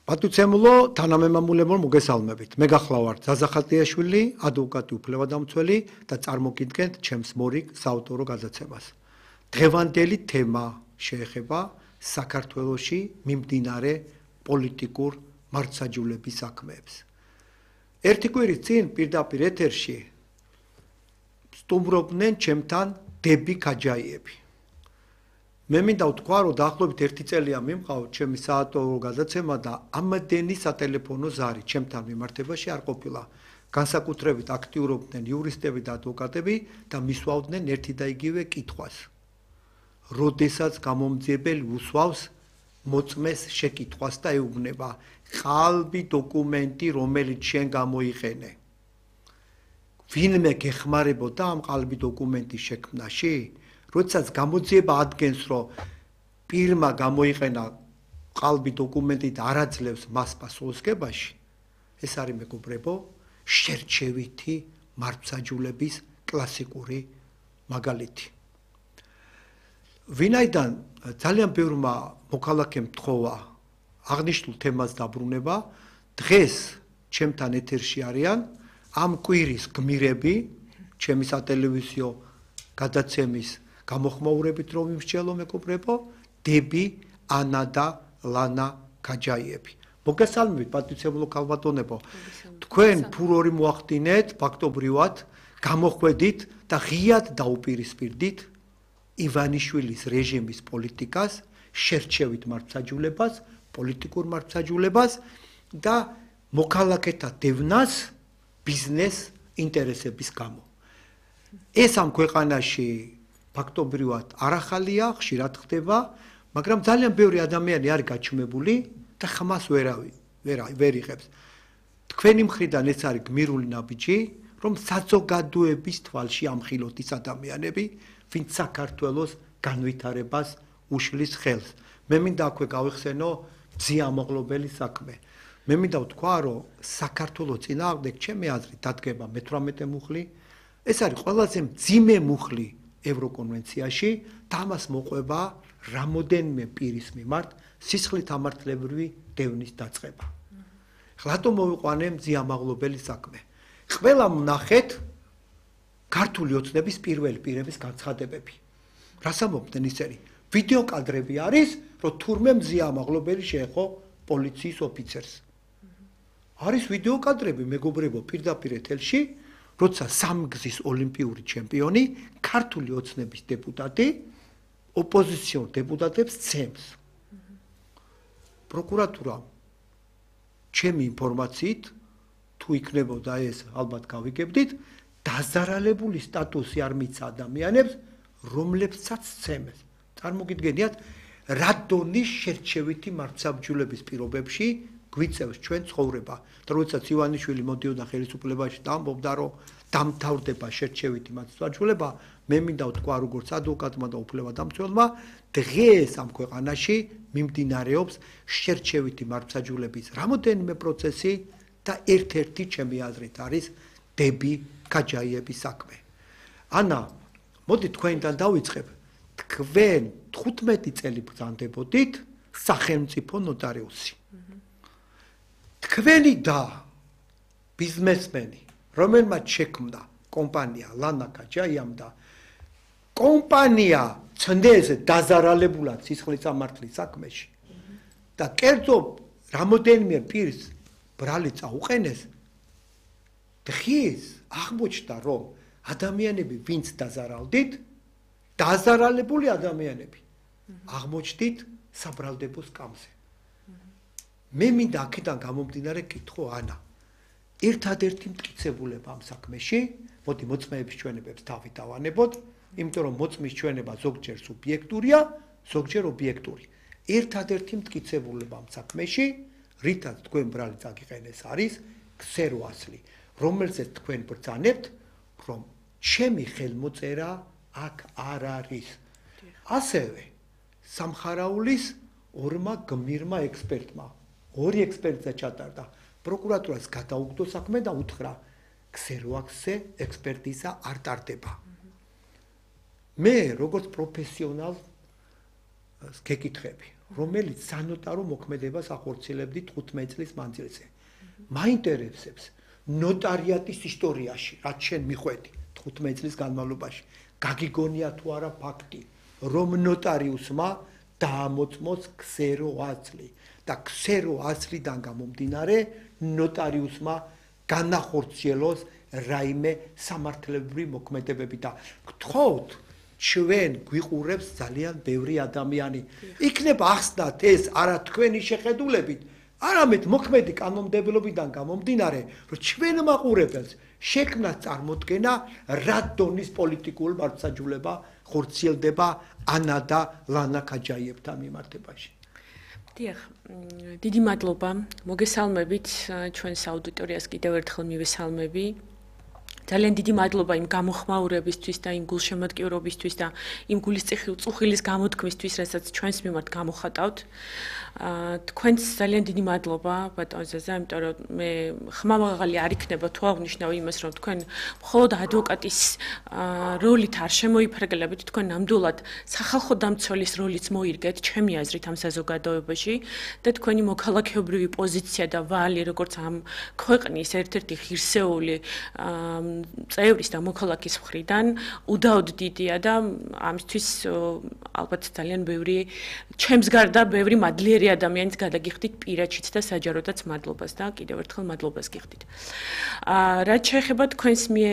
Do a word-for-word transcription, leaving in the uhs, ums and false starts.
პატუცემულო თანამემამულებო მოგესალმებით. მე გახლავართ ზაზა ხატიაშვილი, ადვოკატი უფლებადამცველი და წარმოგიდგენთ ჩემს მორიგ საავტორო გადაცემას. დღევანდელი თემა შეეხება საქართველოში მიმდინარე პოლიტიკურ მართლმსაჯულების საქმეებს. ერთი კვირის წინ პირდაპირ ეთერში სტუმრობდნენ ჩემთან დები ქაჯაიები. მე მინდა ვთქვა, რომ დაახლოებით ერთი წელია მიმყავთ ჩემი საავტორო გადაცემა და ამდენი სატელეფონო ზარი ჩემთან მიმართებაში არ ყოფილა. განსაკუთრებით აქტიურობდნენ იურისტები და ადვოკატები და მისვავდნენ ერთი და იგივე კითხვას. როდესაც გამომძიებელი უსვავს მოწმეს შეკითხვას და ეუბნება ყალბი დოკუმენტი, რომელიც შენ გამოიყენე. ვინმე გეხმარებოდა ამ ყალბი დოკუმენტის შექმნაში? როდესაც გამოძიება ადგენს, რომ პირმა გამოიყენა ყალბი დოკუმენტი და არ აძლევს მას პასუხისგებაში, ეს არის მეგობრებო, შერჩევითი მართლმსაჯულების კლასიკური მაგალითი. ვინაიდან ძალიან ბევრმა მოქალაქემ თხოვა აღნიშნულ თემას დაბრუნება, დღეს ჩემთან ეთერში არიან ამ კვირის გმირები, ჩემი სატელევიზიო გადაცემის გამოხმაურებით რომ იმსჯელო მეგობრებო, დები, ანა და ლანა ქაჯაიები. მოგესალმებით პატუცემულო ქალბატონებო. თქვენ ფურორი მოახდინეთ ფაქტობრივად, გამოხვედით და ღიად დაუპირისპირდით ივანიშვილის რეჟიმის პოლიტიკას, შერჩევით მართლმსაჯულებას, პოლიტიკურ მართლმსაჯულებას და მოქალაქეთა დევნას ბიზნეს ინტერესების გამო. ეს ამ ქვეყანაში ფაქტობრივად არ ახალია, ხშირად ხდება, მაგრამ ძალიან ბევრი ადამიანი არის გაჩუმებული და ხმას ვერავი ვერ იღებს. თქვენი მხრიდან ეს არის გმირული ნაბიჯი, რომ საზოგადოების თვალში ამხილოთ ის ადამიანები, ვინც საქართველოს განვითარებას უშლის ხელს. მე მინდა აქვე გავიხსენო ძიამაღლობელი საქმე. მე მინდა ვთქვა, რომ საქართველოს წინააღმდეგ ჩემი აზრით დადგება მეთვრამეტე მუხლი. ეს არის ყველაზე მძიმე მუხლი ევროკონვენციაში და ამას მოყვება რამოდენიმე პირის მიმართ სისხლით ამართლებრივი დევნის დაწყება. რატომ მოვიყვანე მძიამაღლობელი საქმე? ყველა ვნახეთ ქართული ოცნების პირველი პირების განცხადებები. რას ამბობდნენ ისინი? ვიდეო კადრები არის, რომ თურმე მძიამაღლობელი შეეხო პოლიციის ოფიცერს. არის ვიდეო კადრები, მეგობრებო, პირდაპირ ეთერში, როცა სამგზის ოლიმპიური ჩემპიონი, ქართული ოცნების დეპუტატი, ოპოზიციურ დეპუტატებს ცემს. პროკურატურამ ჩემი ინფორმაციით, თუ იქნებოდა ეს, ალბათ გავიგებდით, დაზარალებული სტატუსი არ მიცა ადამიანებს, რომლებსაც ცემეს. წარმოგიდგენიათ, რა დონის შერჩევითი მართლმსაჯულების პირობებში გვიწევს ჩვენ ცხოვრება. და როდესაც ივანიშვილი მოდიოდა ხელისუფლებაში და ამბობდა, რომ დამთავრდება შერჩევითი მართლმსაჯულება, მე მინდა ვთქვა, როგორც ადვოკატმა და უფლებადამცველმა, დღეს ამ ქვეყანაში მიმდინარეობს შერჩევითი მართლმსაჯულების რამოდენიმე პროცესი და ერთ-ერთი ჩემი აზრით არის დები ქაჯაიების საქმე. ანა, მოდი თქვენთან დავიწყებ. თქვენ თხუთმეტი წელი ბრძანდებოდით სახელმწიფო ნოტარიუსი. თქვენი და ბიზნესმენი, რომელმაც შექმნა კომპანია ლანა ქაჯაიამ და კომპანია ცნდეს დაზარალებულად სისხლის სამართლის საქმეში და კერძო რამოდენიმე პირს ბრალი წაუყენეს, დღეს აღმოჩნდა, რომ ადამიანები, ვინც დაზარალდით, დაზარალებული ადამიანები აღმოჩნდით საბრალდებო სკამზე. მე მინდა აქედან გამომდინარე კითხო ანა. ერთადერთი მტკიცებულება ამ საქმეში, მოდი მოწმეების ჩვენებებს თავი დავანებოთ, იმიტომ რომ მოწმის ჩვენება ზოგჯერ სუბიექტურია, ზოგჯერ ობიექტური. ერთადერთი მტკიცებულება ამ საქმეში, რითაც თქვენ ბრალი წაგიყენეს არის ქსერო ასლი, რომელზეც თქვენ ბრძანებთ, რომ ჩემი ხელმოწერა აქ არ არის. ასევე სამხარაულის ორმა გმირმა ექსპერტმა, ორი ექსპერტზე ჩატარდა, პროკურატურას გადაუგდო საქმე და უთხრა, ქსეროაქსზე ექსპერტიზა არ ტარდება. მე როგორც პროფესიონალ გეკითხები, რომელიც სანოტარო მოქმედებას ახორციელებდით თხუთმეტ წლის მანძილზე. მაინტერესებს ნოტარიატის ისტორიაში, რაც შენ მიხვედი თხუთმეტ წლის განმავლობაში, გაგიგონია თუ არა ფაქტი, რომ ნოტარიუსმა დაამოწმოს ქსერო აზრი და ქსერო აზრიდან გამომდინარე ნოტარიუსმა განახორციელოს რაიმე სამართლებრივი მოქმედებები და გთხოვთ ჩვენ გვიყურებს ძალიან ბევრი ადამიანი. იქნება ახსნათ ეს არა თქვენი შეხედულებით, არამედ მოქმედი კანონმდებლობიდან გამომდინარე, რომ ჩვენ მაყურებელს შექმნას წარმოდგენა რა დონის პოლიტიკურ მართლმსაჯულება ხორციელდება ანა და ლანა ქაჯაიევთან მიმართებაში. დიახ, დიდი მადლობა. მოგესალმებით ჩვენს აუდიტორიას კიდევ ერთხელ მივესალმები. ძალიან დიდი მადლობა იმ გამოხმაურებისთვის და იმ გულშემატკივრობისთვის და იმ გულისწუხილის გამოთქმისთვის, რასაც ჩვენს მიმართ გამოხატავთ. თქვენს ძალიან დიდი მადლობა ბატონ ზაზა, იმიტომ რომ მე ხმამაღალი არ იქნება თუ აღნიშნავ იმას, რომ თქვენ მხოლოდ ადვოკატის როლით არ შემოიფარგლებით, თქვენ ნამდვილად სახალხო დამცველის როლიც მოირგეთ, ჩემი აზრით ამ საზოგადოებაში და თქვენი მოქალაქეობრივი პოზიცია და ვალი, როგორც ამ ქვეყნის ერთ-ერთი ღირსეული წევრის და მოქალაქის მხრიდან უდაოდ დიდია და ამისთვის ალბათ ძალიან ბევრი ჩემს გარდა ბევრი მადლიერი ადამიანის გადაგიხდით პირადშიც და საჯაროდაც მადლობას და კიდევ ერთხელ მადლობას გიხდით. რაც შეეხება თქვენს მიერ